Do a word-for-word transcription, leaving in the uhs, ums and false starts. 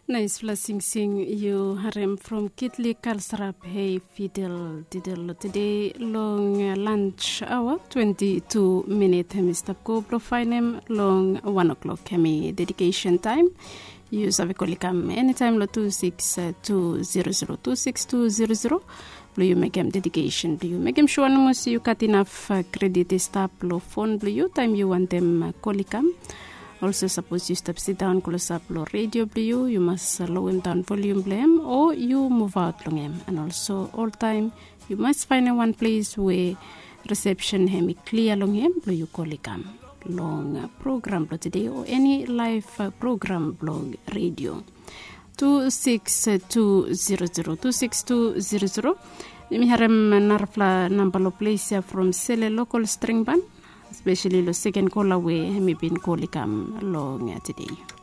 Naispela singsing yu harem from Kitli Kalsrap, hei fidel didel lo tede long lunch aoa, twenti tu minit hem i stap go blo faenem long wan o'klok hem i dedikesen taem. Yu save kol i kam enitaem lo tu siks tu zero zero, tu siks tu zero zero, blo yu mekem dedikesen blo yu. Mekem sua nomo se yu gat inaf kredit i stap lo fon blo yu taem yu wantem kol i kam. Olso sapos yu stap sidaon klosap lo redio blo yu, yu mas lowem daon volium blo hem o yu muvaot long hem. An olso oltaem yu mas faenem wan ples we risepsen hem i klia long hem blo yu kol i kam long program blo tede o eni laef program blong redio. Tu siks tu zero zero, tu siks tu zero zero. Yumi harem narafala namba lo ples ya from Sele Lokol String Ban, espeseli lo seken kola we hem i bin kol i kam long tede.